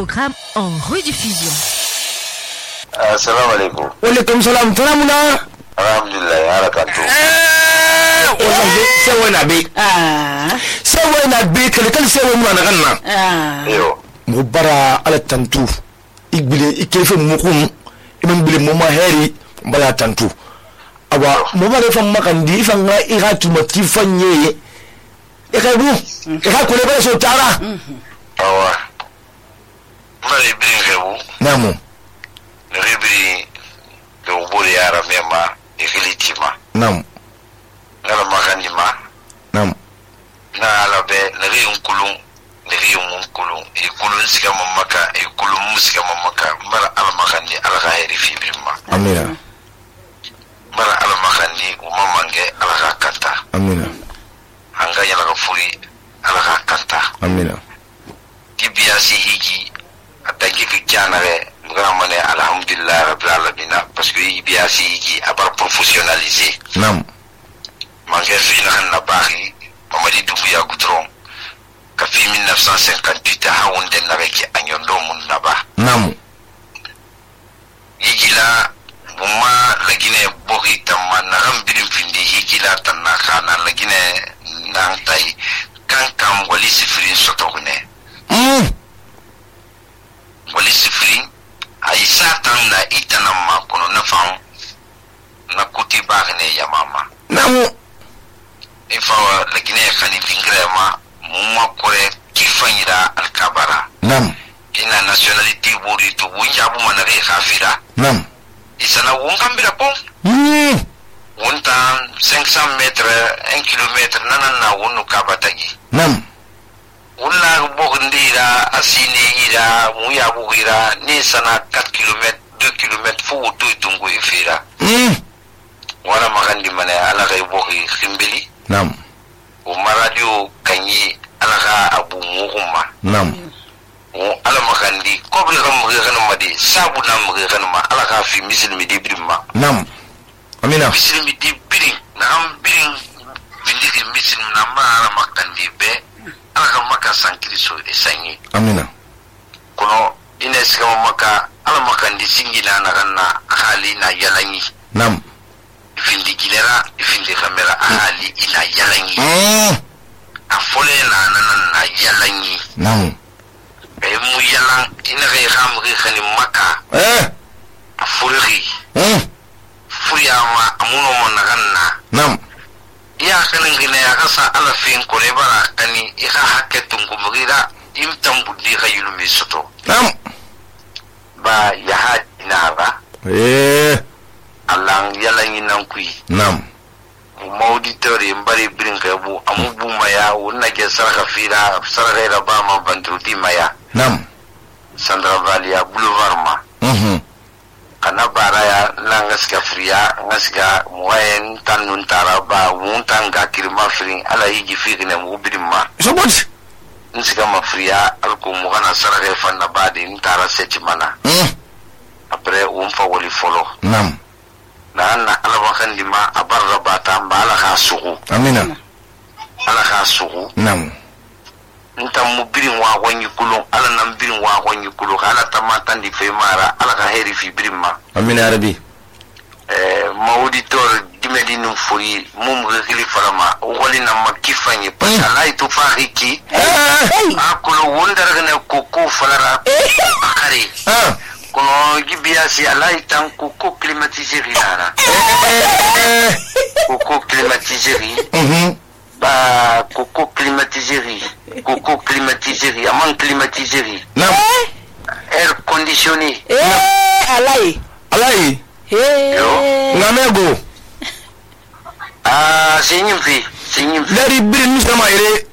Programme en rediffusion. Assalamu alaikum. Wa alaikum salam. Taramuna. Alhamdulillah, harakantu. Sewa na be. Sewa na be kale sewa mu na ganna. Yo. Mu bara ala tantu. Igbile ikefe mukum. Ibn bile mu maheri bala tantu. Awa mu bare fa makandi fa nga iratu matifanye. Ekabu. Eka kule bale so tara. Awa. Mali bringebu. Namu. Ribri ke uburi yara mema ikilitima. Namu. Ngala makandima. Namu. Na alabe nari unkulung ikulun sika mamaka ikulun musika mamaka mara ala makandi ala khahiri fi birma. Amina. Mara ala makandi umamange ala khakanta. Amina. Hanga yala kafuri ala khakanta. Amina. Kibiasi higi atangi fikyanare mugramane alhamdulillah rabbil alamin parce que ibiasi higi abar professionnalisé. Nam. Mange fina hanna bahi Mamadi Doumbouya Goudron ka fi 1958 ha wonde na reki anyondo mun naba. Nam. Higila buma lagine bohi tamma na hambirin findi higila tanna kana lagine nan tai kan wali sifrin sotogune. Wali sifrin ay satan na itanam ma kono na fam na kuti bagne yamama. Nam. Ifa lagine khani dingrema mumma kore kifanyira alkabara. Nam. Ina nationality buri to bunjabu manare khafira. Nam. Isana wongambira pon. Wonta 500 metres 1 kilomètre nanana wonu kabatagi. Nam. Wonna bogndira asine ira muya bugira ni sana 4 km 2 km fu to tungu ifira. Wala magandi mane ala kay bogi khimbili. Nam. O maradio kanyi ala ka abu muhumma. Nam. O ala magandi koble kam gana madi sabu nam gana ma ala ka fi misilmi dibrima. Nam. Amina. Misilmi dibrin na am birin bindiki misilmi na ma ala makandi be ala ka maka sankiri so esanyi. Amina. Kono ines ka maka ala makandi singina na ganna hali na yalanyi. Nam. Ifindi gilera ifindi kamera hali ina yalanyi. Afole na yalanyi. Nam. Mu yalang ina kay xam khani maka. Afuri. Furiyama amuno mon naganna. Nam. Ya kanin gine ya kasa ala fin ko le bara kani iha haketun ko mugira imtam buddi khayulu misoto. Nam. Ba ya hadina ba. Allah yalanyi nan kui. Nam. Mauditori mbari brinka bu amubu maya wonna ke saraka fira saraka ira ba ma bandruti maya. Nam. Sandra Valia Boulevard ma. Kana bara ya langaska fria ngaska moyen tanun taraba wuntanga kirma frin ala hiji fikne mu birima. Sobot. Nsika mafria alko mu kana saraka fanna badi ntara setimana. Après umfa wali follow. Nam. Na anna ala bakandi ma abarra bata mbala kha sugu. Amina. Ala kha sugu. Nam. Nta mubirin wa wanyi kulun ala nan birin wa wanyi kulun ala tamatan di fe mara ala ka heri fi birin ma. Amina arabi. Mauditor dimedi num furi mum gili farama wali na makifanye pasha lai to fahiki. Akulu wondar gane koko falara akari. Kono gibiasi alai tan koko climatiseri nana. Koko climatiseri. Ba koko climatiseri. Koko climatiseri. Aman climatiseri. Nam. Air conditionné. Alai. Yo. Ngamego. Senyimfi. Dari birin misama ire.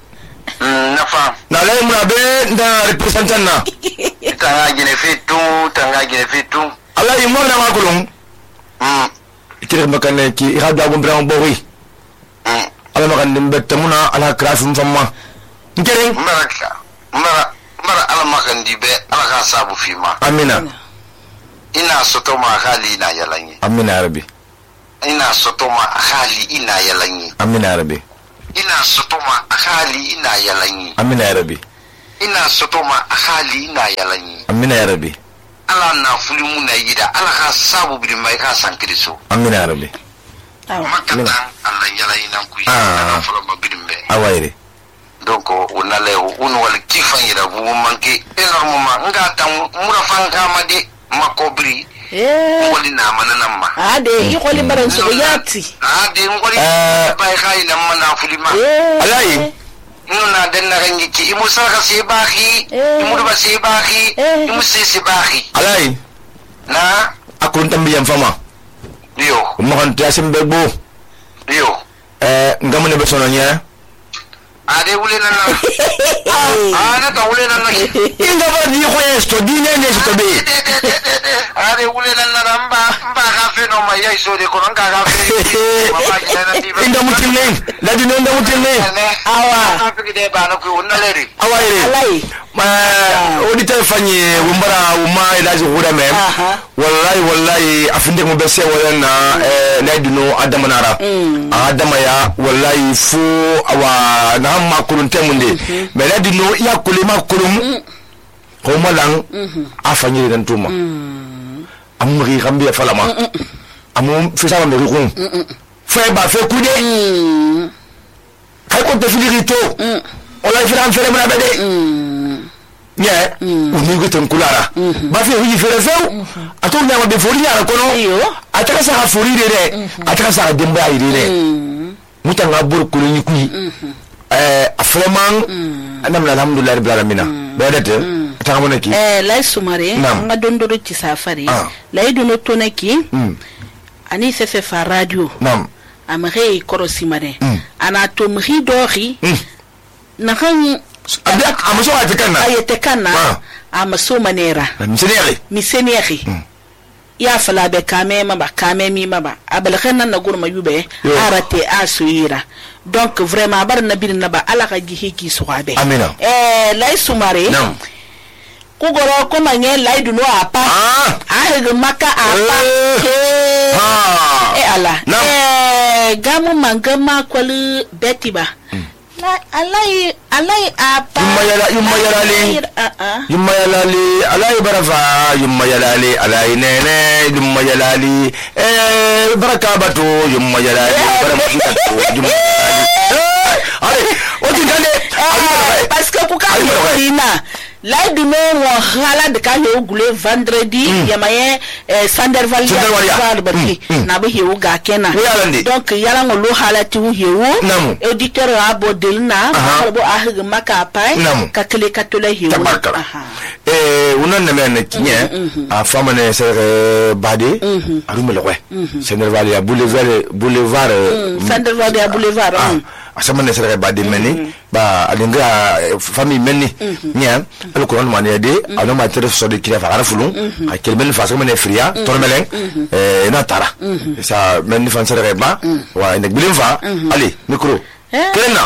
Nafa. Na lai muna be da representant na. Tanga gine fitu. Alai mo na makulung. Ikire makane ki irada go mbra mbori. Ala makan dimbe temuna ala krafum famma. Nkere. Mara ala makan dibe ala ka sabu fima. Amina. Ina soto ma hali ina yalanyi. Amina rabbi. Ina soto ma hali ina yalanyi. Amina rabbi. Ina soto ma hali ina yalanyi. Amina rabbi. ina sotoma hali ina yalanyi amina ya rabbi ala na fuli mu na yida ala ka sabu bi mai ka san kiriso amina ya rabbi makatan ala yalanyi nan ku na folo mabidimbe awaire donc on ale on wal kifan yira bu manke énormément nga tan murafan kama de makobri ngoli na manana ma ade yikoli baran so yati ade ngoli bay khay na mana fulima alai nuna den na rangi ki imusa ka se bahi imudu ba se bahi imusa se bahi alai na akun tambiyam fama yo mo kan tiasim bebo yo ngamune be sononya ade wule na ana ta wule na inga ba di ko esto di ne esto be ade wule na mba ka fe no ma yai so de ko nga ka fe inga mutinne la di nda mutinne awa afiki de ba no ko naleri awa ire alai ma auditeur fanye wumbara uma ilaji huda mem wallahi afinde mo bese wala na la di no adamanara adama ya wallahi fu awa na ma kurun temunde mais la di no ya kulima kurum ko malang afanye dan tuma amri gambi falama amu fisa ma ri ko fe ba fe kude kay ko defilirito wala firan fere mna bede nye unigo tan kulara ba fe wi fere few ato nyama be fori nyara kono ataka sa fori de ataka sa demba ire mutanga bor ko ni kuyi afreman anam alhamdulillah rabbil alamin bedete ataka monaki lay sumare nga dondoro ci safari lay duno tonaki ani se fa radio nam amre korosi mare ana to mri doxi na kan abia amaso atekana ayetekana amaso manera miseneri ya fala be kame mi maba abalkhana na gurma yube arate asuyira donc vraiment bar nabi na ba ala ka gihi ki suwabe amina lay sumare ku goro ko manye lay duno apa ahege maka apa ala gamu mangama kwali betiba alai apa yumma yalali alai barafa yumma yalali alai nene yumma yalali baraka batu yumma yalali baraka yumma yalali oti kande parce que pour quand ina là du nom hala de ka yo gule vendredi yamaye sandervalia na be hewu ga kena donc yala ngolo hala ti wu hewu auditeur abodel na bo ahig maka pai ka kele katole hewu unan na men kinye a famane ser bade arumele we sandervalia boulevard sandervalia boulevard asamane ser bade meni ba alinga famille meni nya alquran mane de ano ma tere so de kila fa fulun a kelben fa so mene fria tormelen na tara ça men fa sere ba wa nek bilim fa ali micro kelena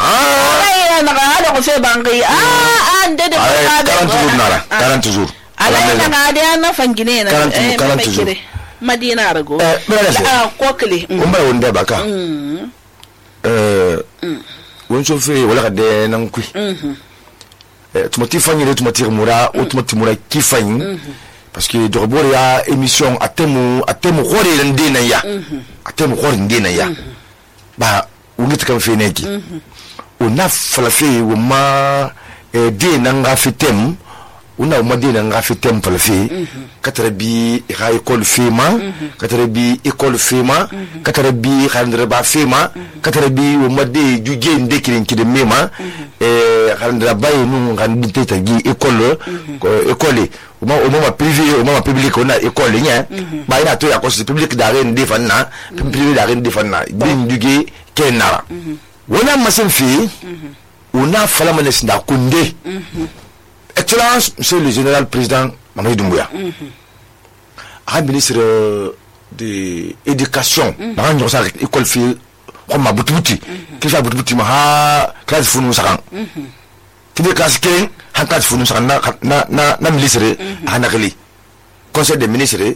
na ga ko fe bangi ndede 40 jours ala na ga de na fangine na 40 jours madina rago ko kele umba wonde baka won so fe wala de nan kui tumati fanyele tumati mura tumati mura kifanyi parce que dorobor ya émission atemu khore ndena ya atemu khore ndena ya ba unit kam fe neki una falafe wuma de nanga fitem una uma de nanga fitem falafe katarabi ra école fema katarabi école fema katarabi khandra ba fema katarabi uma de juje ndekirin kide mema khandra bay nu ngandite tagi école uma privé uma public on a école nya ba ina to ya ko public dare ndi fanna privé dare ndi fanna bin juje kenara wona masin fi una fala manes nda kunde excellence monsieur le général président Mamadou Doumbouya a ministre de éducation na nyo sa école fi ko ma butubuti ki fa butubuti ma ha classe funu sakan ki de classe ken ha classe funu sakan na ministre anakali conseil des ministres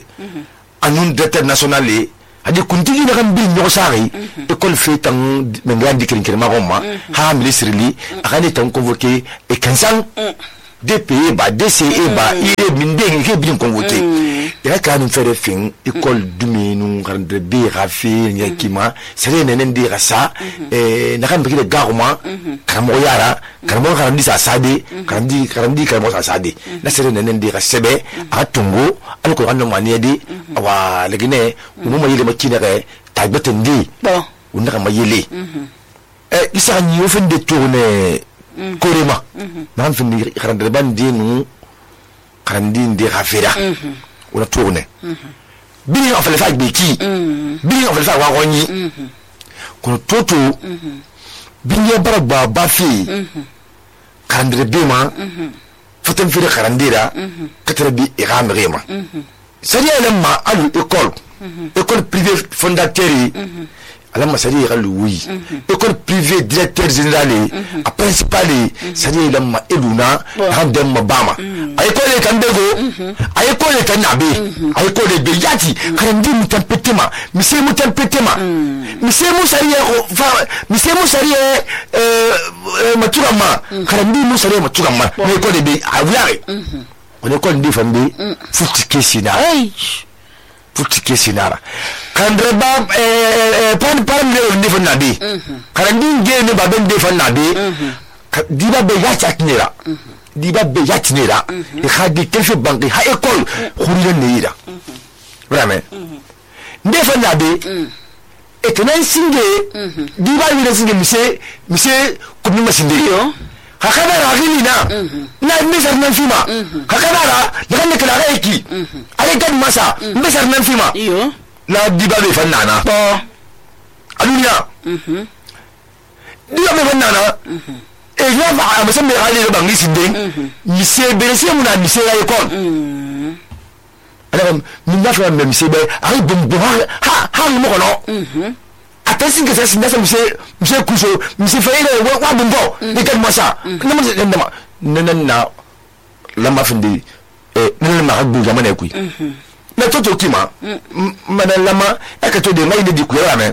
anun directeur national adi kuntigi na kan bi nyo sari école fi tan menga dikrin kirma gomma ha ministre li akani tan convoqué et kansan DPE ba DCE ba ire mindeng ke bin kongote ya kanu fere fin école dumenu grande be rafi nyakima sere nenen di rasa na kan bikile garuma kamo yara kamo kan di sa sade kan di kamo sa sade na sere nenen di rasebe atungo alko ando maniedi awa legine umuma yile makina re tagbetendi bon unaka mayele isa nyo fin de tourner korema nan fin grande bandi nu kandi ndi rafira wala tourner bini on fait le fac beki bini on fait le fac wagoni kono toto bini bara ba fi kandre bema fotem fi karandira katra bi iramrema sari elma alu école privée fondateur ala masari yalu wi école privée directeur général a principal sari lamma eluna handem mabama ay école kandego ay école kanabe ay école be yati kandi mutampetema mise mutampetema mise musari maturama kandi musari maturama école be aviare on école de fambe futi kesina futi kesinara kandre ba pan le ndefan nabi karandi ngene ba ben defan nabi diba be yatinera e khadi kelfe banki ha école khurina neira vraiment ndefan nabi e tenan singe diba wi singe mise kumi masinde yo hakana ragini na misar nan fima hakana ra daga ne kala aiki ale gad masa misar nan fima iyo na diba be fannana to alunya diba be fannana e ya fa amsan me gali ba ngisi den mise berese muna mise ya ikon ala min na fa me mise be ay bum ha mo kono atasi que ça c'est monsieur kuso monsieur faïle wa bumbo ni kan masa na la ma findi na ma habu jamana ku na toto kima madame lama aka to de mai de ku ya me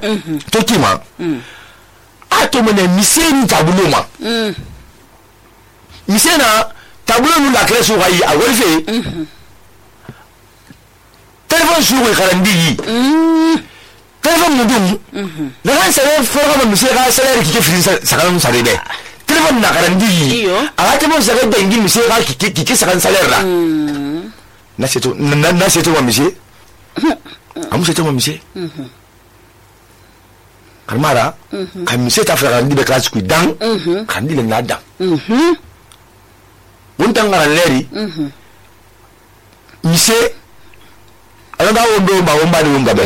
to kima ato mena monsieur ni tabulo ma monsieur na tabulo nu la classe wa a welfe téléphone sur le calendrier téléphone mudum la han sare forma musera salaire ki firi sakalan sare be téléphone na karandi ala te mo sare be ngi musera ki sakalan salaire la na seto wa monsieur amu seto wa monsieur kalmara kan monsieur ta fara ndi be class ku dan kan ndi le nada wontan ngara leri monsieur ala ga wondo ba womba ni wonga be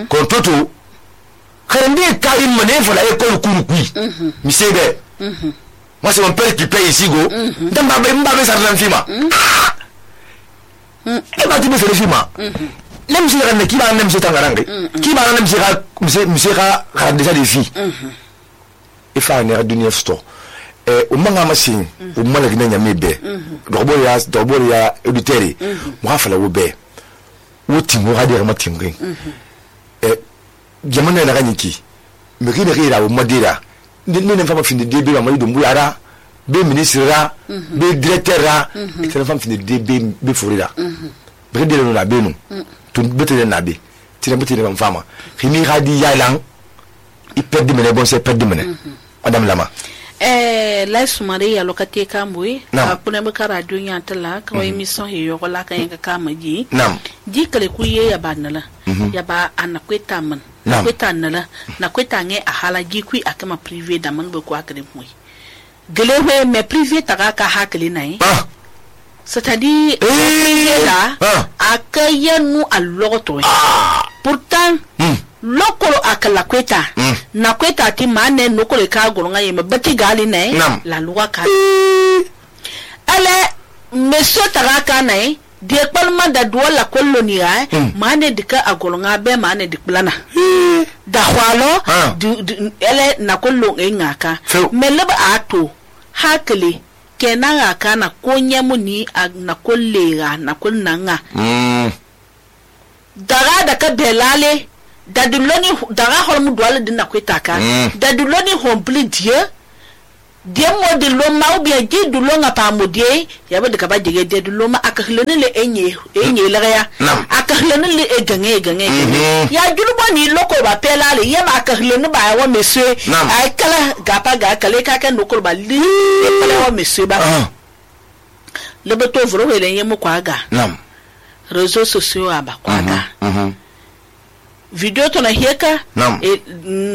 ko toto karandi karim mané fala école kurukui misebe moi c'est mon père qui paye ici go ndamba mbabe sarnan fima e ba tibe fima nem si ran ki ba nem si tangarange ki ba nem si ka déjà des filles e fa ne dunia sto o manga masin o mala gina nyamebe dobo ya auditeri mo fala wo be woti mo radio ma timring jamana la ganiki me rira o madira ne fama fin de debe ma yido mbuyara be ministre ra be directeur ra et ça fama fin de debe be forira be de no la be no to bete na be tira bete na fama khimi radi yalang i perdre mene bon c'est perdre mene madame lama la sumare ya lokati kambui apune maka radio nyantala ka emission hiyo ko la kan ka kamaji ji kale kuye ya banala ya ba anakweta man nakweta nala nakweta nge ahala ji kui akama privé da man be ko akre mui gelewe me privé taga ka hakli nai c'est-à-dire là akayenu aloto pourtant lokolo akala kweta na kweta ti mane nokole ka golonga yema bati gali ne la loi ka ale meso taraka ne de palma da dola kolonia mane dika agolonga be mane diklana da khwalo ele na kollo ngaka melaba ato hakle kenanga kana konya muni na kollega na kolnanga daga da ka belale daduloni daga holmu dwala dina kwetaka daduloni hompli dieu dia mo de loma ou bien di du longa pa mo die ya ba de ka ba de de loma akahlene le enye la ya akahlene le gange ya jurubo ni loko ba pela le ya akahlene ba wa monsieur ay kala gapa ga kale ka kan nokol ba li pela wa monsieur ba le beto vro wele yemo kwa ga réseaux sociaux aba kwa ga video to na heka e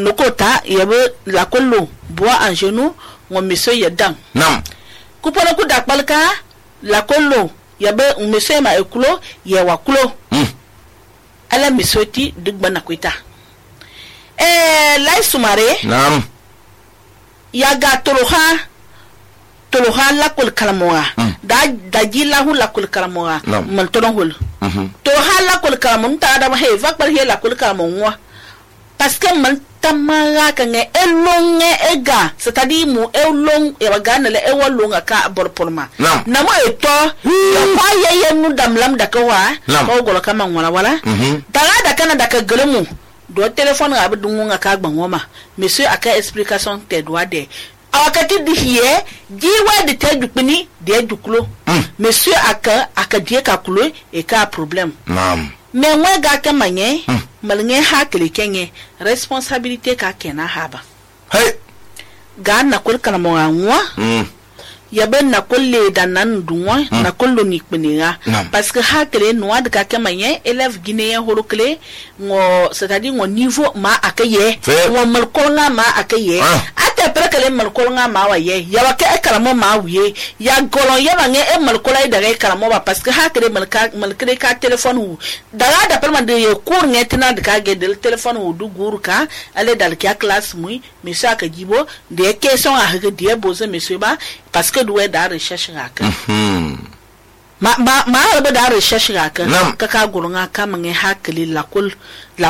nokota yabe la kollo bois en genou mon monsieur yadam kupona ku dakbalka la kollo yabe monsieur ma ekulo ye wakulo ala monsieur ti dugbana kuita lai sumare yaga toroha la kul kalamoa da jila hu la kul kalamoa man tono hul to hala kul kalamon ta da he vakbar he la kul kalamon parce que man tamara kan elong ega c'est-à-dire mu elong e wagana le e walonga ka borporma na mo eto kwa ye nu damlam da kawa ko golo kama wala daga da kana da ka gelemu do téléphone ga budunga ka gbanwoma monsieur aka explication te doit de awakati di hiye jiwa de te dupini de dukulo monsieur aka die ka kulo e ka problem me nwe ga ka manye malnge ha kele kenye responsabilité ka kena haba hey ga na kul kana mo anwa ya ben na kulle da nan dunwa na kullu ni kpiniga parce que ha kele noa de ka ka manye élève guinéen horokle ngo c'est-à-dire ngo niveau ma akaye ngo malkolnga ma akaye ate prekele malkolnga ma waye ya wake ekaramo ma wiye ya golon ya bange e malkolai daga ekaramo ba parce que ha kele malkele ka téléphone hu daga da perma de ye cour ngetina de ka ge de téléphone hu du gurka ale dal kia classe mui monsieur ka jibo de question a hege de boze monsieur ba parce que doit da recherche raka ma arba da recherche raka ka gurunga kamange hakili la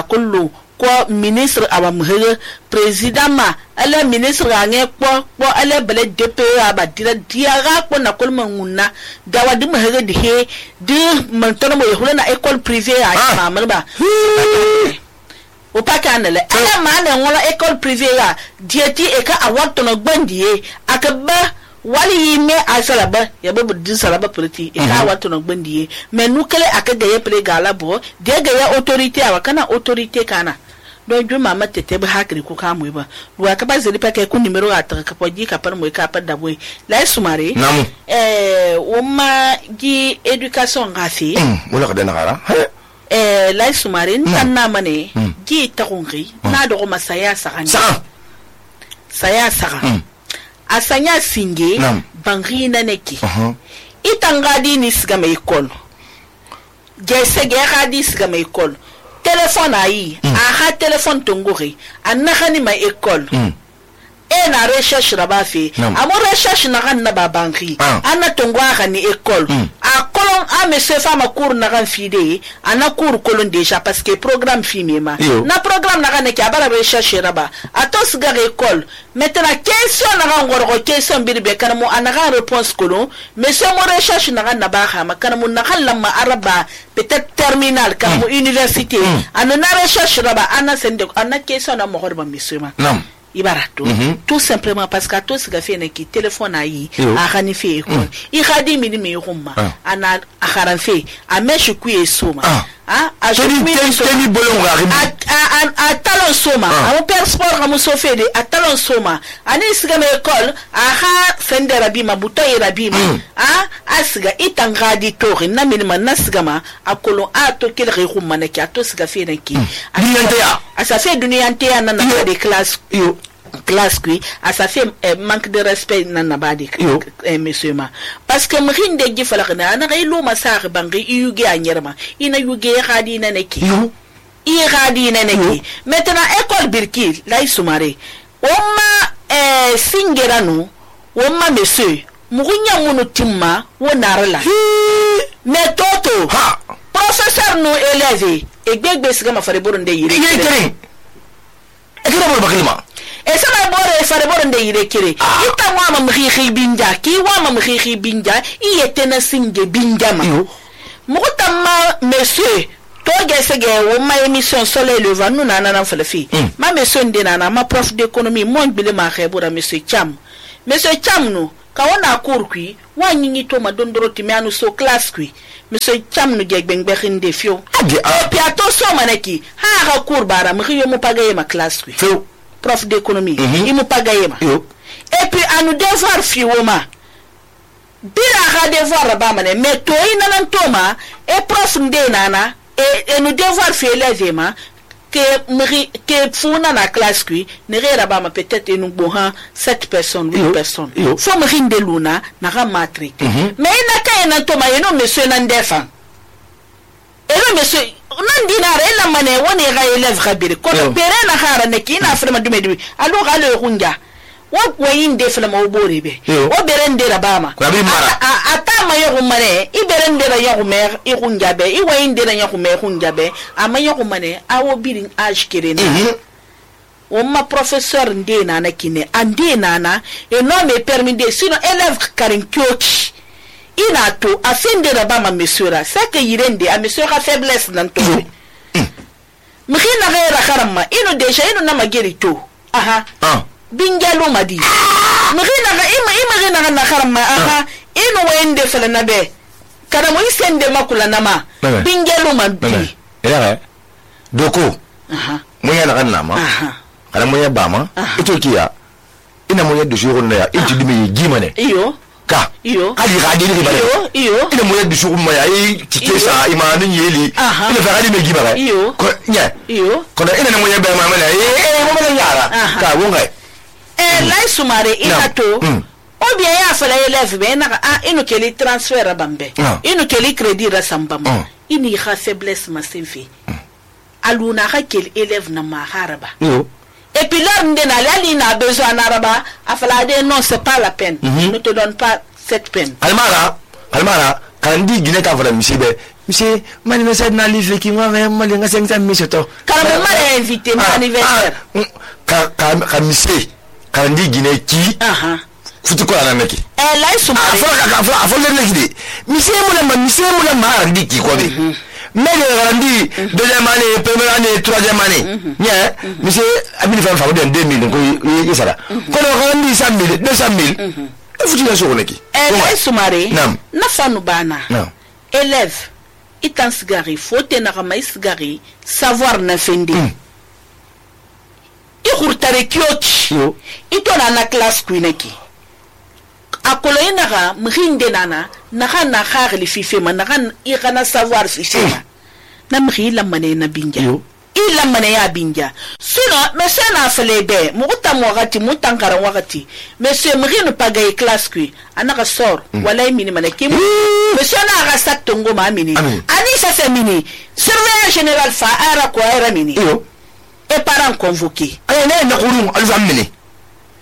kullu ko ministre aba muhere président ma ala ministre range ko ala bele DP aba diara ko na kulma nguna da wadi muhere de he de mantono mo yehula na école privée a ma ba o pakanele ala ma na ngola école privée ya dieti e ka awato no gbandie akaba wali me asalaba ya babu din salaba preti e ka wato no gbandie mais nous kele akaga ye pele gala bo de ga ya autorité awa kana autorité kana do ju mama tete ba hakri ko ka mu ba wa ka ba zeli pa ke ku numero ata ka poji ka par mo ka pa da boy la sumare o ma gi éducation gafi wala ka dana gara la sumare ntanna mane gi takungi na do masaya sakani saya asanya singe bangri na neki itangadi ni siga me école gese gadi siga me école téléphone ayi aha téléphone tongori anakani ma école e na recherche raba fe amo recherche na kan na bangri ana tongwa kan ni école a kolon a monsieur fama cours na kan fide ana cours kolon déjà parce que programme filmema na programme na kan ki abara recherche raba atos ga école maintenant question na kan ngoro question birbe kan mo ana kan réponse kolon monsieur mo recherche na kan na ba ha makana mo na kan lamma araba peut-être terminal kan mo université ana na recherche raba ana sende ana question na mo horba monsieur ma ibarato tout simplement parce que tout ce que fait neki téléphone ayi a ranife ko I khadi mi me rumma ana a kharanfe a mesh ku esoma a jeni bolonga a talon soma a père sport comme sofé de a talon soma ani siga me école a ha fendera bi ma buto ira bi ma a siga itanga di tori na minima na siga ma a kolon a to kel re rumma neki a to siga fait neki a ça fait duniyante na na de classe qui a ça fait manque de respect na badi monsieur ma parce que mrinde gi falakna na gailu masar bangi yuge anyerma ina yuge khadi na neki I khadi na neki maintenant école birki lay sumare oma singeranu oma monsieur mugunya munu timma wonarala mais toto professeur no élève egbegbe siga ma fare borunde yire ekira bol bakilma e sama bore fare borunde yire kire ita wa ma mkhikhi binja ki wa ma mkhikhi binja I yetena singe binja ma mugutamma monsieur to gesege wo ma émission soleil levant nous nana na falafi ma monsieur ndena na ma prof d'économie mon bile ma khebura monsieur Cham monsieur chamno ka wana kurkui wa nyingi to madondoro timianu so class kui monsieur chamno gegbengbe khinde fio et puis ato so manaki ha ga kurbara mi yo mo pagaye ma class kui fio prof d'économie il mo pagaye ma et puis anu devoir fio ma bira ga devoir ba mane mais to ina nan to ma et prof nde nana et nous devoir fio élève ma que funa na classe qui ne rera ba ma peut-être nous bohan 7 personnes 8 personnes faut me rinde luna na ga matrité mais ina ka ina to ma eno monsieur nan defan eno monsieur nan dinare ina mane woni ga élève rabire ko pere na hara ne ki na frema dume alo ga le hunja wa wayin de frema oborebe o berende rabama ata ma yo mane i berende ra yo mer i hunjabe i wayin de ra yo mer hunjabe ama yo mane awo birin age kirena o ma professeur ndena na kine andena na e no me permis de sino élève karin kyoki ina to afinde rabama monsieur ça que yirende a monsieur a faiblesse nan to mkhina gaira kharama ino deja ino na mageri to aha bingalo madi mkhina ga ima na kharama aha ino wende fala nabe kana mo isende makula nama bingalo madi era doko aha moya na kana ma aha kana moya bama ito kiya ina moya de jour na ya iti dimi gimane iyo ka iyo ali radini ke bare iyo ina moya de jour moya yi tikesa imanu yeli ina fa radini gi bare iyo ko nya iyo ko ina moya be ma mala mo mala yara ka wonga lai sumare ina to o bien ya fala élève be na ino keli transfert bambe ino keli crédit rasambam ini kha faiblesse ma senfi aluna kha kel élève na ma haraba et puis là on a besoin d'araba afala de non c'est pas la peine ne te donne pas cette peine almara quand dit guiné ka fala monsieur mani me said na livre ki moi même le nga 500 monsieur to quand m'a invité mon anniversaire ka monsieur quand dit guiné ki futu ko ana meki là ils sont afala le ngidi monsieur mo la ma ndi ki ko bi mais le grandi deuxième année première année troisième année nya monsieur abini fa fa de 2000 ko yi sala ko no grandi 100000 200000 e futi la soko neki là sumare na fanu bana élève itan sigari fote na kama sigari savoir na fendi i khurtare kyochi ito na classe kuineki akolo inaga mrinde nana naga na khagli fifema naga igana savoir fifema na mkhila mane na binja ila mane ya binja sino monsieur na flebe muta mwagati mutankara wakati monsieur mrino pagay classe kui anaka sor wala mini mane kim monsieur na ga satongo ma mini ani ça c'est mini surveillant général fa ara ko era mini et parents convoqués ay na khuru alfa mini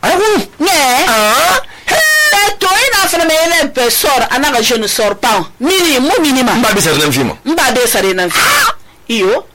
ay to ina fana me ele pe sor anaga je ne sors pas minima mbabe sare nan fima mbabe sare nan iyo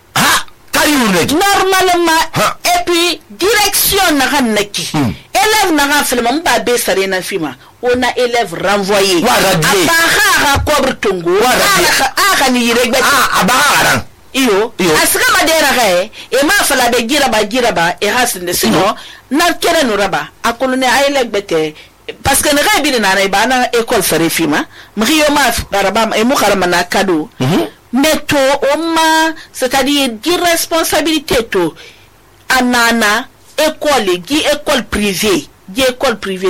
kari urneki normalement et puis direction na hanaki élève na ga fana mbabe sare nan fima on a élève renvoyé abaha kobre tongo aga ni yiregbe abaha iyo asika madera gae e ma fala be giraba e hasinde sino na kere no raba akolone ayele gbete parce que ne rabine na na na école farefima mriyo ma araba e mukharama na cadeau mais to oma c'est-à-dire irresponsabilité to anana école privée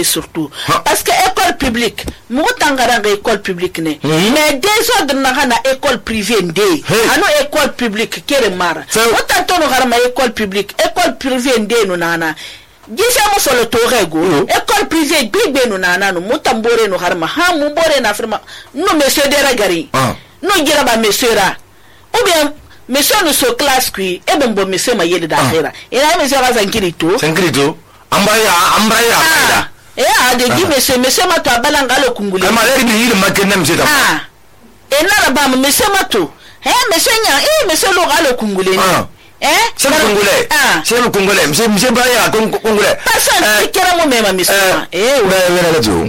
surtout parce que école publique mutangara école publique ne mais désordre na école privée ndé ano école publique kere mara mutanto no harama école privée ndé no nana gisa mo solo to rego école privée bibe no nana no mutambore no harama ha mu bore na firma no monsieur dera gari no gira ba monsieur ra ou bien monsieur no so classe qui e bombo monsieur ma yede da khira ina monsieur ra sankirito ambraya de gi monsieur mato abalanga lo kungule ama leri bi yile makena monsieur ta e na ba monsieur mato monsieur nya monsieur lo galo kungule ni c'est le congolais monsieur Braya congolais personne kera mo mema monsieur wala la jo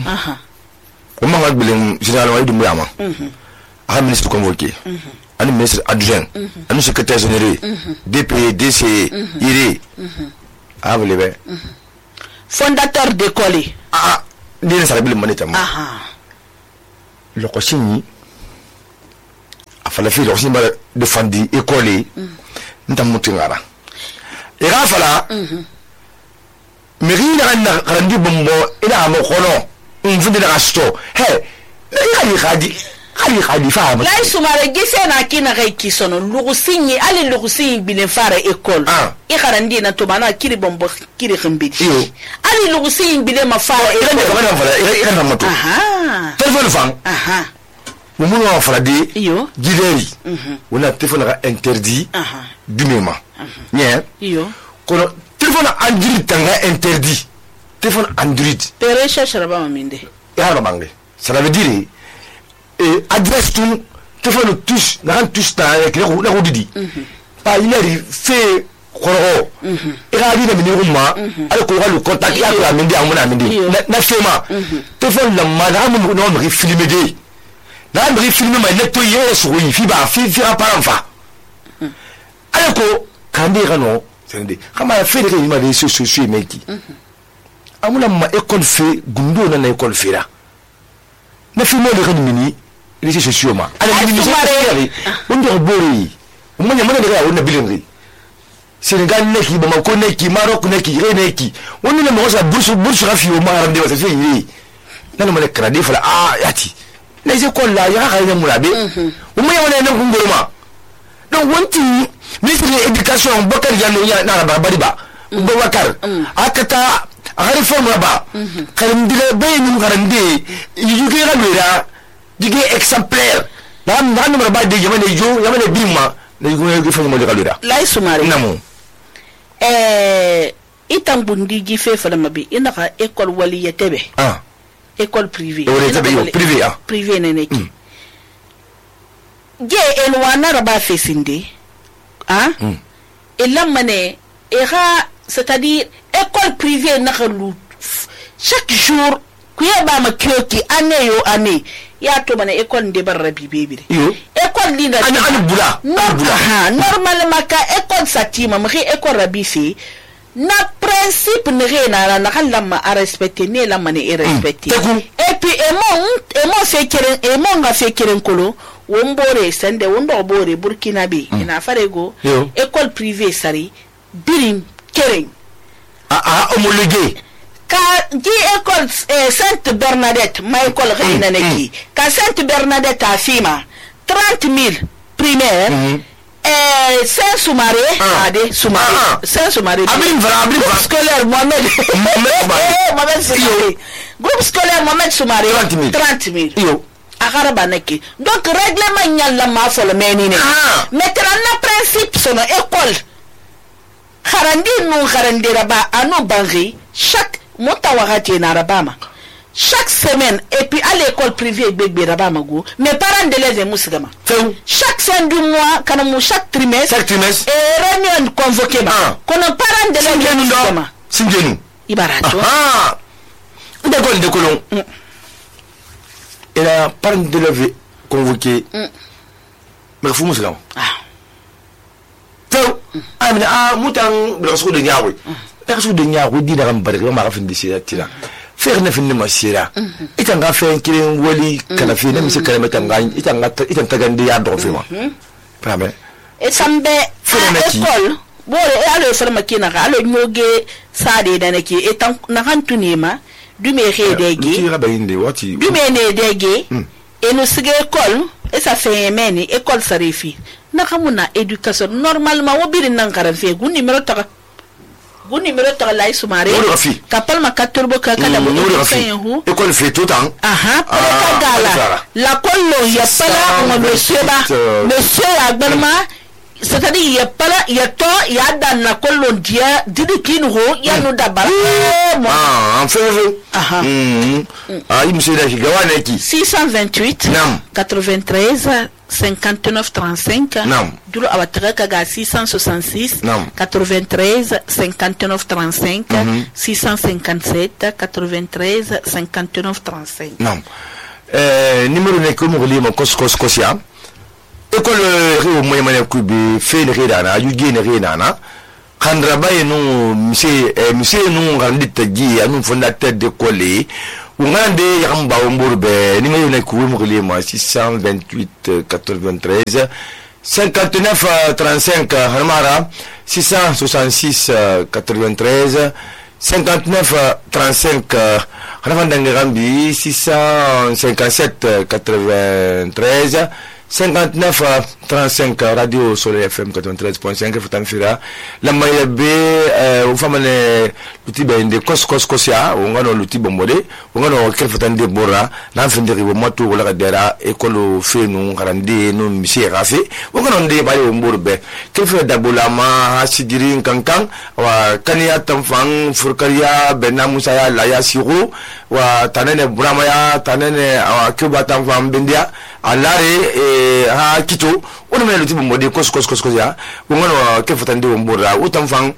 o ma ngabile général wa idum yama a ministre convoqué un ministre adjoint un secrétaire général DP DC IRE a volé fondateur d'école ndine sara bil manita ma lokosin afala fi lokosin ba de fandi école ntam mutingara ira fala meri na randi bombo ina mo kono mfundi na sto he khadi fa la sumare gise na kina kai kisono lugusinyi ali lugusinyi bilen fara école e kharandi na to bana kiri bombo kiri khambidi ali lugusinyi bilen ma fara école ira ne fala ira na moto téléphone fang mumu wa fala di gideri wona téléphone ga interdit dumema nye kono téléphone android tanga interdit téléphone android pere cherche ba minde ya ba bangi ça veut dire adresse tout téléphone touche na kan touche ta avec la rodidi pa il est fait koro ira bi na mini rumma al ko le contact ya ko mindi amuna mindi na fema téléphone la ma na mu no me filmer de na me filmer ma netto yeso yi fi ba fi pa fa al ko kandi rano c'est kama fait de ma de sociaux meki amuna ma école fait gundo na école fait là na fi mo de kan mini les sociaux ma ala mini sumare on do bori mo nya mana de ga wona bilingi Sénégal neki ba ko neki Maroc neki reneki woni le mo sa bourse rafi o ma rande wa sa fi yi nana mo le kradi fala yati les écoles là ya ga ya mulabe o mo ya wona na ngoroma donc wonti ministre de l'éducation Bakar Diallo ya na ba bariba Bakar akata réforme là-bas karim dile bayinu garande yuge galwera dige exemplaire nam no ba de yamane bimma na yuge fanyo mo galwera lay sumari namo itam bundi ji fe fala mabi ina ka école waliya tebe école privée privé neneki je elwana raba fesinde elamane era c'est-à-dire école privée na khalu chaque jour kuya ba ma kyoki année ya to bana école de barabi bébé école linda ana bula normalement ka école satima ma école rabi fi na principe ne rena na khalama a respecter ne la mane e respecter et puis et mon fait keren et mon ga fait keren kolo wombore sende wondo bore burkinabe ina farego école privée sari birim keren homologué ka di école Sainte Bernadette ma école reina neki ka Sainte Bernadette a fima 30,000 primaire Saint-Soumaré Saint-Soumaré groupe scolaire Mohamed Soumaré groupe scolaire Mohamed Soumaré 30,000 agaraba neki donc règlement nyalla ma fo le menine maintenant na principe sono école kharandi raba anu bangi chaque motawagati na rabama chaque semaine et puis à l'école privée bébé rabama go mes parents de les musigama chaque fin du mois quand chaque trimestre et réunion convoquée quand parents de les musigama singenu ibarato de colon et la parents de les convoqué mais faut musigama amina mutan rasul de nyawi rasul de nyawi di daga barke ma rafin de sira fer na fin ma sira ita nga fe kiren wali kala fi na mi se kala metanga ita tagande ya do fi ma prabe e sambe école bore alo ferma kina ga alo nyoge sade da nake etan na hantuni ma du me redege du me ne dege et nous sige école et ça fait meni école sarifi na kamuna éducation normalement wobiri nan karanfe gun numéro ta lay sumare kapal ma katurbo ka kala mo école fait tout temps gala la kollo ya pala mo monsieur agbalma c'est-à-dire ya pala ya to ya dan na kollo dia didikin ho ya no dabara en fait il me dit que gawane ki 628 93 59 35 duro abatraka ga 666 93 59 35 657 93 59 35 numéro ne ko mo li mo kosia école réew moy mané kubi fe le redana yu gene redana khandra baye no monsieur no ngandita gi anu fondateur d'école Ungande yamba ombourbe numéro na kuwumugli ma 628 93 59 35 Harmara 666 93 59 35 Hanafandanga Gambi 657 93 59 35 Radio Soleil FM 93.5 Futamfira la mayabe ufamane lutiba inde koskosia ungano lutiba mbode ungano kelfatande bora na mfindiri bo matu wala dera ekolo fenu garande no misi rafi ungano nde bale mburbe kelfa dabula ma hasidiri kankan wa kaniya tamfang furkariya benna musa ya la ya siru wa tanene burama ya tanene akuba tamfang bendia alare ha kito wona mele tibo modi kos ya ngono ke fatande wombura utamfang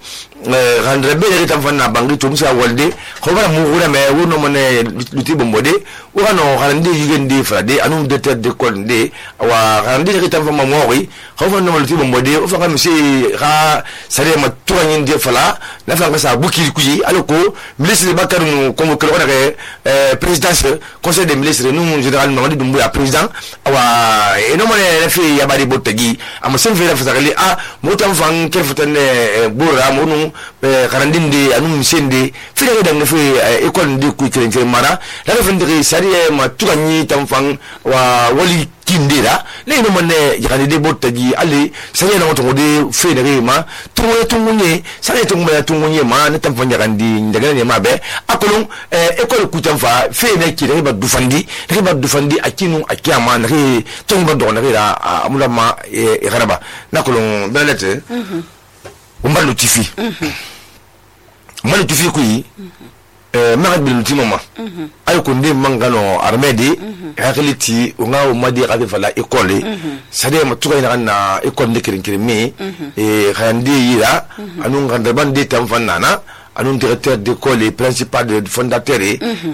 rendre be tamfang na bangi to musa walde ko bara mu gura me wono mone lutibo modi wono garande yigende frade anu de tête de kolde wa garande tamfang mamori ko fa no lutibo modi o fa kam si ha sare ma tuwanyin de fala na fa ka sa buki kuji aloko ministre Bakar no convoqué on présidence conseil des ministres nous général Mamadi Doumbouya président wa eno mone na fi yabari botagi amasen fera fasakali motam fang kerfatane bora monu karandinde anu misende fira da fi ekol ndi ku kirenke mara la fa ndiri sariye ma tuganyi tamfang wa wali kindira le no mone yakani de botagi ali sariye na moto de fe na ma tungunye sariye tungunye ma na tamfang yakandi ndaga ne mabe akolon ekol ku tamfa fe na kire ba dufandi akinu akiyama na tonga do na ra amula ma garaba nakolon belete umbalu tifi kuyi magad bil timama ay ko ndi mangano armedi hakiliti unga umadi qadi fala ekole sade matuga ina na ekole ndikirin mi khandi yira anu nganda bandi tamfanana anu directeur d'école principal de fondateur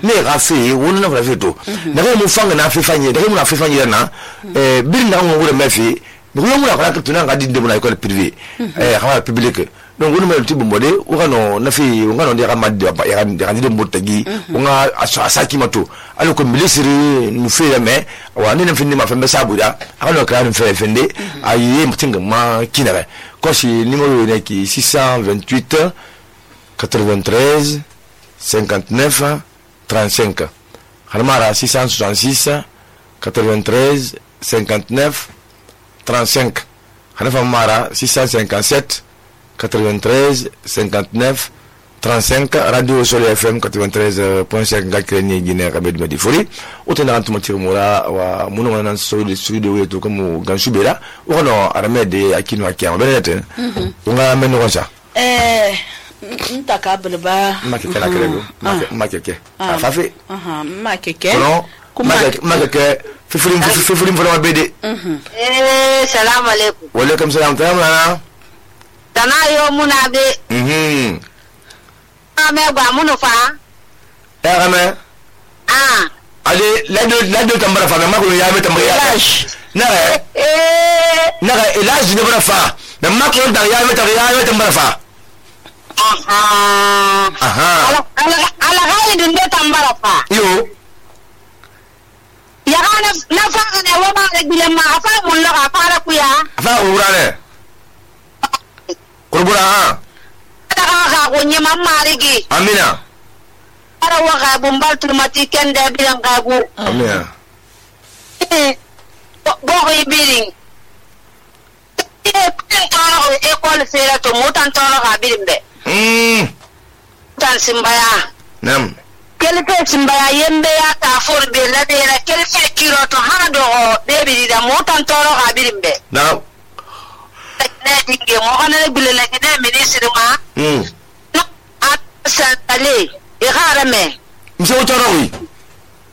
ne rafi wonna na fito na mu fanga na fifanye da mu na fifanye na bil na ngure mefi bu yo mu na ka tuna ngadi de mu na école privée xawa publique donc wonna mel tibu mode ugano na fi ugano de ramadi ba ya de mbotagi unga asaki mato aloko ministre nu fe me wa ne na finni ma fa sabuda akano ka na fe fende ayi mutinga ma kinare ko si numéro ne ki 628 93 59 35 Harmara 666 93 59 35 Hanafamara 657 93 59 35 Radio Soleil FM 93.5 Gakreni Guinée Rabed Medifori utenda antuma tirmura wa muno nan soyde studio wetu comme gansubera wono aramede akino akiyama benete nga meno konsa ntaka bulba makeke la krego makeke afafi makeke no makeke fifulim fala bede salam alaykum wa alaykum salam tamana tana yo munabe ame gba munu fa ame ale lado tambara fa ma ko ya me tambara na elage ne bara fa na ma ko da ya me tambara fa ala gali dunde tambara fa yo ya kana na fa ne wa ma le bile ma fa mun la fa la kuya fa urale kurbura da ka ko nyima marigi amina ara wa ga bombal turmati kende bilan gagu amina bo biring école fera to mutan tolo ga birimbe tan simbaya nam kelpe simbaya yembe ya ta forbe la dera kelpe kiro to hado be bi da mutan tolo ga birimbe nam ne dinge mo kana bile la ne ministre ma asale e garame mse utoro wi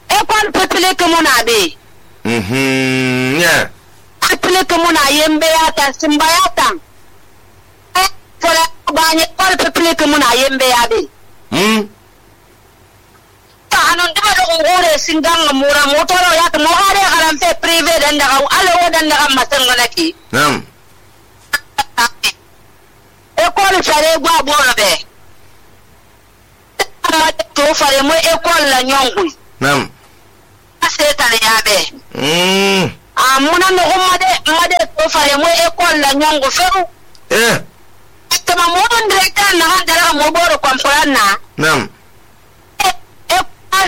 école peuple que mon abe yeah peuple que mon yembe ya ta simbaya tan fola banye école peuple que mon yembe ya be anon dama do ngore singanga mura motoro ya mo hare garam fe privé dan daga alo dan daga masanga naki nam école fare gwa bolo be to fare mo école la nyongui Nam. Asetan ya be. Muna no made to fare mo école la nyongo feru. Tama mo directeur na handara mo boro comprendre. Nam.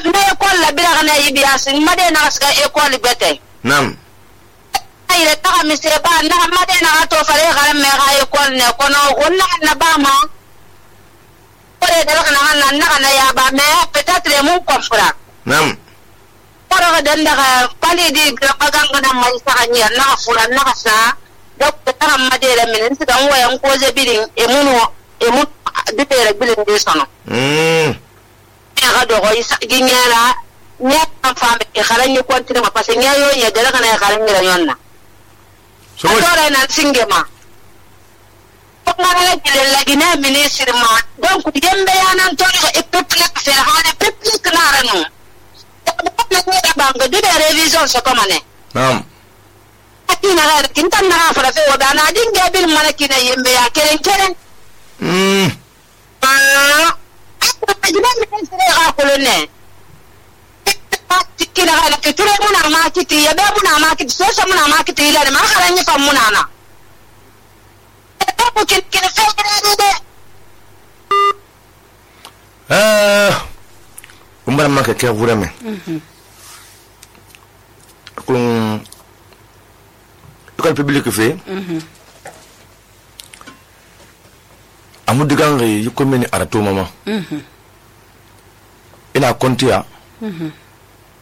Ne école la bila kana yibi asin made na ska école bete. Nam. Ile ta mi se ba na made na to fare garan me ga école ne kono wonna na ba ma. Ore dala kana na ya ba me peut-être mon comprendre. Nam. Para danda ka pali di gapagang kana mai sa kanya na fulan na sa dok ta made la min sa kan wayan ko ze bidin emu dipere bilin de sono. Ya do ko isa ginyala nya kan fa me khalanyi kontine ma pase nya yo ya dala kana ya khalanyi la yonna. So ora na singema. Ngara gile la gina ministre ma donc yembe yanan to ko epeple fe hane peple klara no. Banga de révision so komane. Naam. Atina ga kintan na fara fe wada na dinga bil malakina yembe ya keren. Ajina ministre ga kolone. Kina ga ke ture muna ma kiti ya be muna ma kiti so so muna ma kiti ila ma kharanya fa muna na. Ko kin fe de. Umbara maka ke vurame. Kun école publique fait. Amudu gange yuko meni arato mama. Ina kontia.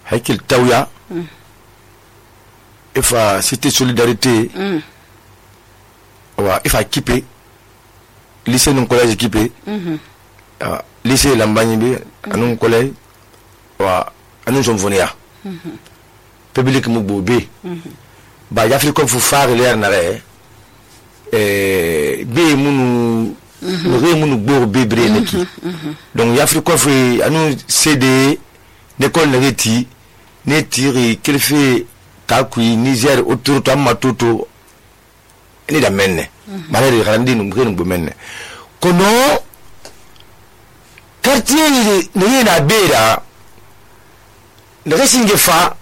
Haikil tawya. Ifa cité solidarité. Wa ifa kipe. Lycée non collège kipe. Lycée Lambagni bi anun collège wa anun somfonia public mu bobe ba yafri ko fu faare leer na re be munu re munu gbo be bre neki donc yafri ko fu anun CD l'école neti ne tiri kelfe ka ku Niger autour to matoto ni da menne ba re randi nu ngene gbo menne kono quartier ni na bera le resinge fa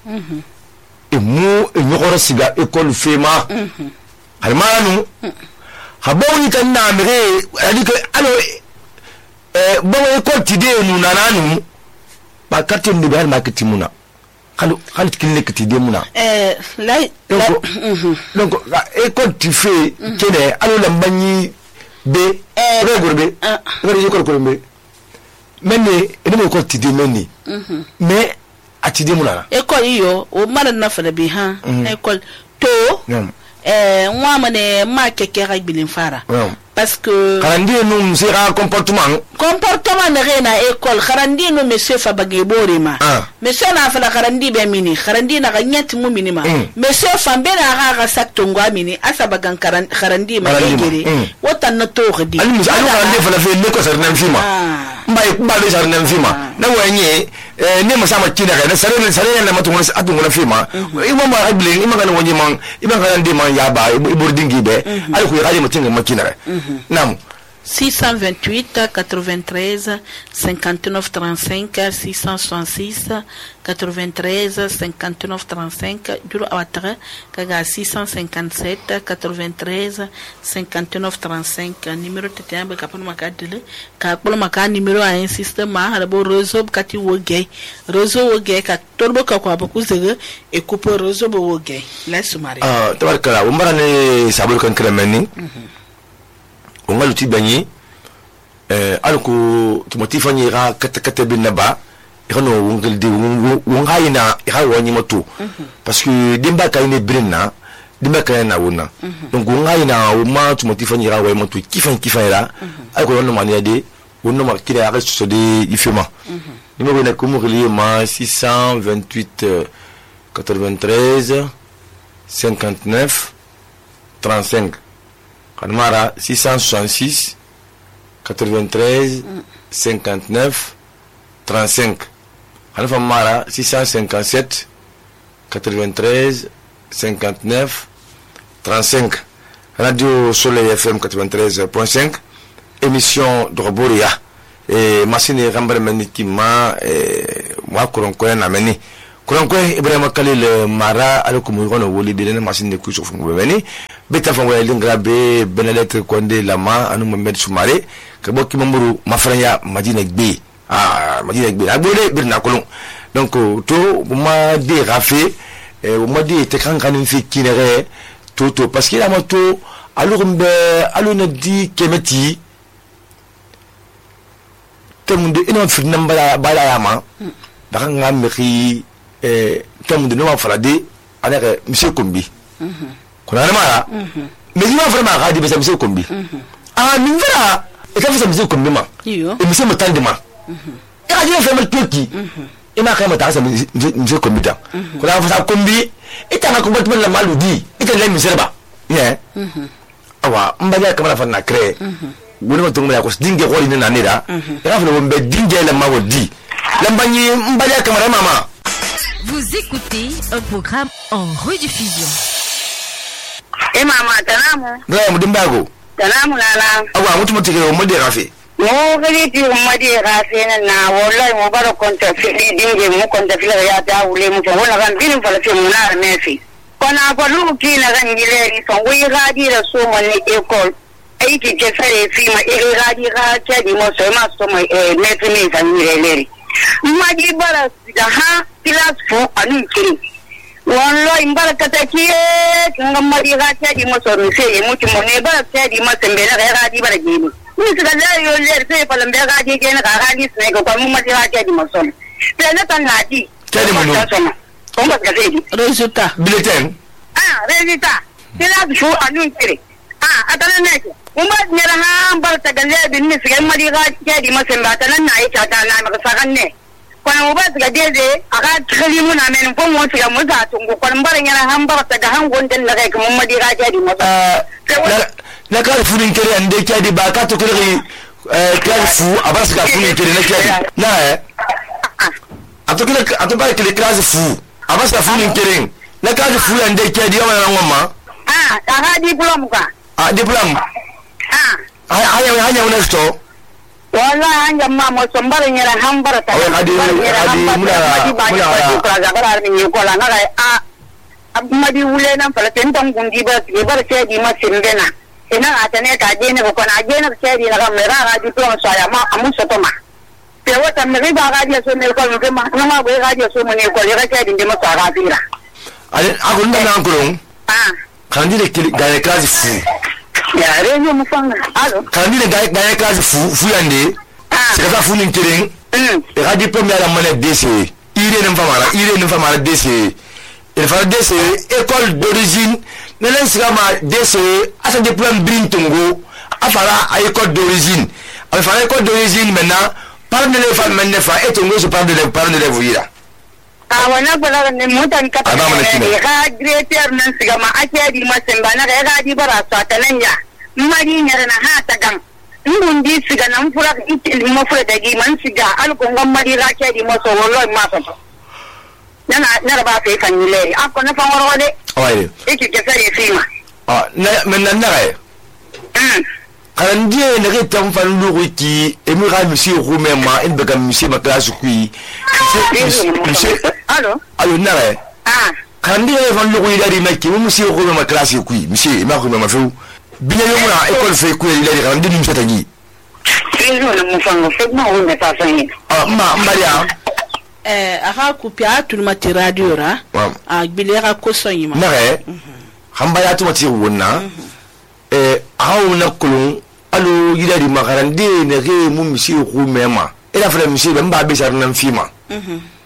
e mu e nyoro siga école fema almanu haboni tan na mere adike alo bon école tide nu nananu ba quartier ndu ba market muna kan tikine kitide muna donc école tu fais kene alo lambani be regorbe école kolombe menne ene ko tidi menni mais atidi mulana école yo o mara na fara bi ha école to nwa mane ma keke ga bilin fara parce que karandi no sera comportement na rena école karandi no monsieur fabage borima monsieur na fala karandi be mini karandi na ganyati mu minima monsieur fambe na ga sakto ngwa mini asabagan karandi ma yegere wotan na to gidi ali karandi fala fe ne ko sarna mfima mbaye kubale sarna mfima na wenye ne masama kina ga sare na matu ngona atu ngona fima ibo ma habile ima kana wonye man ima karandi man ya ba iburdingi be ali ku yaje mutinga makina nam 628 93 59 35 666 93 59 35 juro awatra kaga 657 93 59 35 numéro tetembe kapano makadile ka polo maka numéro a un système ha bo réseau kati woge ka torbo ka kwa boku zege e coupe réseau bo woge la sumare tabarkala umbara ne sabul kan kremeni ongalu tibani alko timotifa nyira kata binaba ikano wongel di wongayina ira wonyi moto parce que dimba kayine brinna dimba kayina wona donc wongayina woma timotifa nyira wa moto kifan ira alko wonno mania de wonno markira ya resto de ifema numéro na komo relié ma 628 93 59 35 Kanmara 666 93 59 35 Hanafa Mara 657 93 59 35 Radio Soleil FM 93.5 émission de Roboria et Massine Rambar Manikima wa kuran ko na meni kuran ko Ibrahima Khalil mara alkum ngono woli de na machine ku sofu meni beta fa wala lingra be Benelet Konde Lama anu Mohamed Soumare ke bokki mamuru mafranya Madina Gbe Madina Gbe agbole birna kolon donc to ma de rafé ma de te kan kanin fi kinere to parce que la moto alors mbe aluna di kemeti temunde ino fi namba bala yama da kan ngamri temunde no falade avec monsieur Kombi kuna na mara mais il va vraiment radi be monsieur Kombi minvara e ka fa monsieur Kombi ma e monsieur mutande ma e ka dina fa mal toki e ma ka mata sa monsieur Kombi da kuna fa Kombi e ta na ko batman la maludi e ta la monsieur ba awa mbaga kamera fa na créer woni ma tonga ko dinge ko ni na nida e ka fa no be dinge la mawodi lambani mbaga kamera mama. Vous écoutez un programme en rediffusion. Mama tanamu. Ndio mdimbago. Tanamu lala. Awa mutu mutikere mo de rafi. Mo gari ti mo de rafi na wallahi mo baro konta fili dinge mo konta fili ya ta wule mo wona kan bin fala fi mo na mefi. Kona ko lu ki na kan gileri so wi gadi da so mo ne ekol. Ai ki ke fere fi ma e gadi ga ke di mo so ma so mo mefi me kan gileri. Magi bara da ha tilas fu anu kiri. Wallahi mbara katakiye ngamari ga tadi maso nse mutu mo ne ba tadi masembe na ga di bara gini ni suka la yo le se pa lambe ga di ke na ga di se ko mu mati ga tadi maso pe na tan lati tadi mo ko ba ga di Resultat bulletin resultat tilas fu anu kiri atana ne ko umba ne ha mbara ta galle bin ni se mari ga tadi masembe atana na yi ta na ma sa kan ne kwana ba su ga dede aka tsali muna men ko mo su ga mu za tungo kwan baran yana han ba ta ga han gondan la kai kuma madira jadi masa na ka funin kire ande kyadi ba ka to kire kyadi fu abas ga funin kire na kyadi na ato ba kire class fu abas ga funin kire na ka fu ande kyadi yawa na ngoma aka diploma ka diploma hanya una sto wallahi hanya ma mo sombare nyara hambara ta hadi muna madi wule nan fala tentan gundi ba ke bar sai di masimbena ina atane ka je ne ko na je ne sai di na kamera ga di to so ya ma amu so to ma te wata me ba ga di so ne ko me ma na ma ga di so mo ne ko le ga sai di de ma so ga fira ale akunda na nkurun kandi de ga class fu ya rejo mu fanga alo kandi de ga class fu yande c'est ça fu nin kirin e ga diplôme ya la monnaie DC ire ne famara DC il faut DC école d'origine ne laisse pas DC à ce diplôme brintongo afara à école d'origine afara école d'origine maintenant parle de les femmes maintenant et tongo je parle de les voyira wana bala ne mutan ka ta ga greater nan siga ma ake di masemba na ga di bara sa tananya mari nyara na ha ta gan ngundi siga nan fura itil mo fura da gi man siga al ko ngam mari ra ke di mo so wallahi ma fa na ba fe kan yile akko na fa woro de waye iki ke sai fima na men na re Karandie ne ke tam fan luruti e mi ga monsieur Roumema en bega monsieur ma classe kui monsieur allo na re Karandie fan luruti dari ma ki monsieur Roumema classe kui monsieur ma Roumema feu bien yo na école fait kui il a Karandie ni msata gi Bizo na mfango fait ma on ta fanyi Maria aka kupia tulmati radio ra bilera ko sonyima na re hamba ya tumati wonna aw na kulun alo yidari makarande ne ke mu misi Roumema ila fra misi be mba be sarnan fima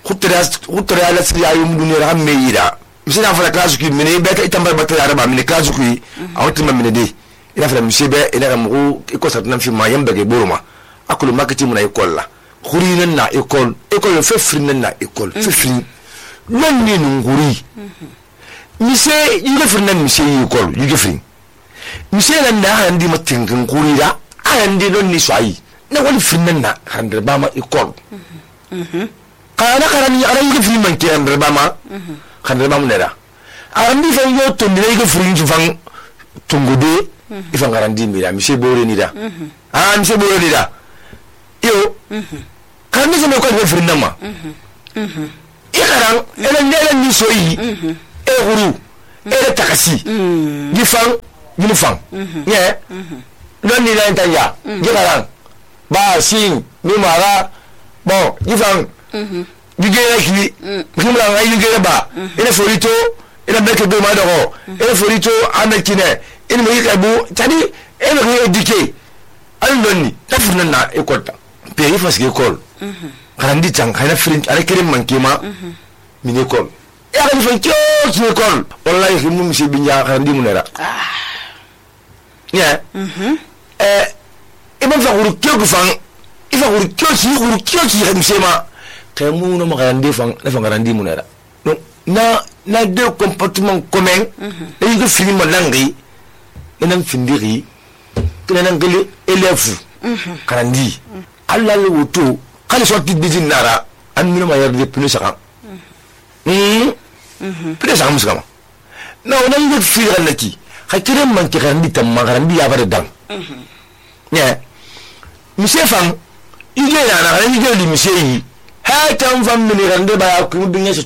khutra la sri ayum dunira ramme yida misi na fra classe ki mine be ta itambar batta ya raba mine classe ki awtima mine de ila fra misi be ila mu ko sarnan fima yamba ke boroma akulu makati mu na école la khuri na école fe frin na école fe frin non ni nguri misi yuge frin misi école yuge frin monsieur na handi matinkin kurira handi don ni swai na wani finnan na handar ba ma ikon kana karani ara yi fin man ke handar ba ma handar ba mun da arandi fa yo to ni ga furin ju fan tungude ifan garandi mi da monsieur bore ni da monsieur bore ni da yo kan ni se ko ga furin ma ikaran ele ni soyi e guru ele takasi gifan gilfan ye non ni lan tanya ikaran ba sin ni mara bon gifan digere ki kimla ngai digere ba ele forito ele beke be ma dogo ele forito amekine ele mi kabu tadi ele ko edike al nonni tafurna na ekota pe yi fasike école karandi tang kana frin ala kirim mankima min école ya kan fa kyo école wallahi himu mi sebi nya karandi munera ya ibn fa guru kyo gufan ifa guru kyo ci kan sema kaymu no makarandi fan na fa karandi munera donc na deux comportements communs et il finit mon langue enam findiri kenan gele élève karandi alla le woto kali sorti bizin nara an mino ma yarde plus saka plus saka muskama na ona yi fira naki hakire man ki karandi tam magarandi ya bare dang ne monsieur fam ile na na ni gele monsieur yi ha tam fam ni rande ba ku dunya so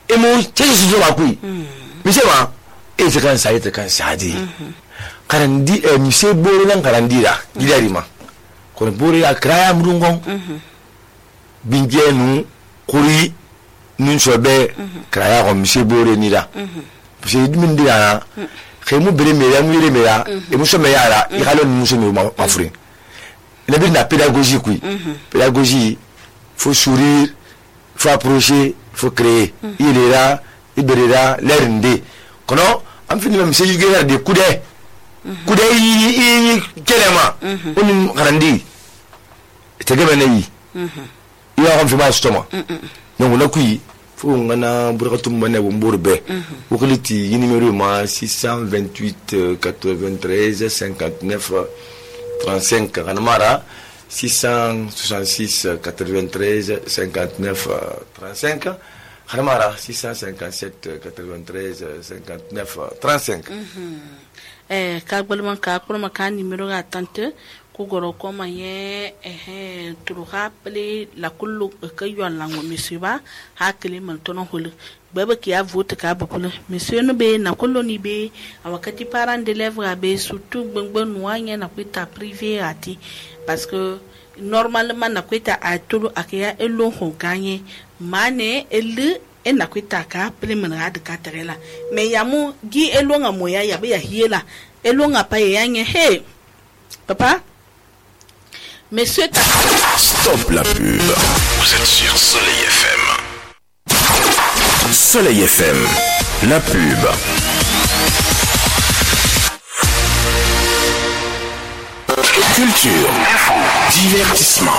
emu tesi so ba ku monsieur ma e se kan sai te kan sadi karandi monsieur boro nan karandi da gidari ma kono boro ya kraya mudungon bingenu kuri nun sobe kraya ko monsieur boro ni da monsieur min dia khemu bere me ya mu yere me ya e muso me yara i halo muso me ma furi le bi na pédagogie kui pédagogie faut sourire faut approcher faut créer il est là il berera l'ernde kono am fini me monsieur yigera de kude yi kelema onim garandi tegebe na yi ya ko fi ma stoma donc na kui fo ngana burakatum bane bo mburbe o koliti yi numéro ma 628 93 59 35 kanamara 666 93 59 35 kanamara 657 93 59 35 ka gbalman ka kuma ka numéro ga tante ku goro ko ma ye turu rappelé la kullu ka yon lango monsieur ba hakili man tono hulu baba ki a vote ka bapula monsieur no be na kullu ni be awakati parents d'élèves be surtout gbangban wanya na kwita privé ati parce que normalement na kwita atulu akya elo ho ganye mane elu ena kwita ka plemen rad ka terela mais yamu gi elo nga moya ya be ya hiela elo nga pa yanye hey papa monsieur stop la pub. Vous êtes sur Soleil FM. Soleil FM, la pub. Culture, info, divertissement.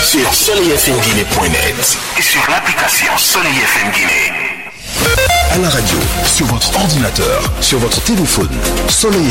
Sur soleilfmguinée.net et sur l'application Soleil FM Guinée. À la radio, sur votre ordinateur, sur votre téléphone. Soleil